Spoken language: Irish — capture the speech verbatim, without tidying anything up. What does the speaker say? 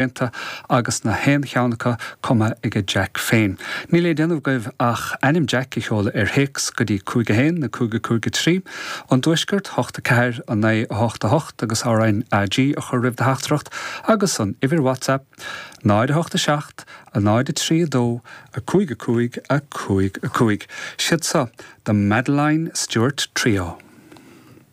déanta agus nach aon cheann acu cumtha ag Jack féin. Níl le déanamh agaibh ach ainm Jack a sheoladh ar théacs go dtí cúig a haon, a cúig a cúig a trí, an Tuaisceart hocht a ceathair a naoi a hocht a hocht agus RnaG a chur roimh do theachtaireacht agus an uimhir WhatsApp náid a hocht a seacht, a náid a trí a dó, a cúig a cúig a cúig a cúig. Siad seo The Madeline Stewart Trio.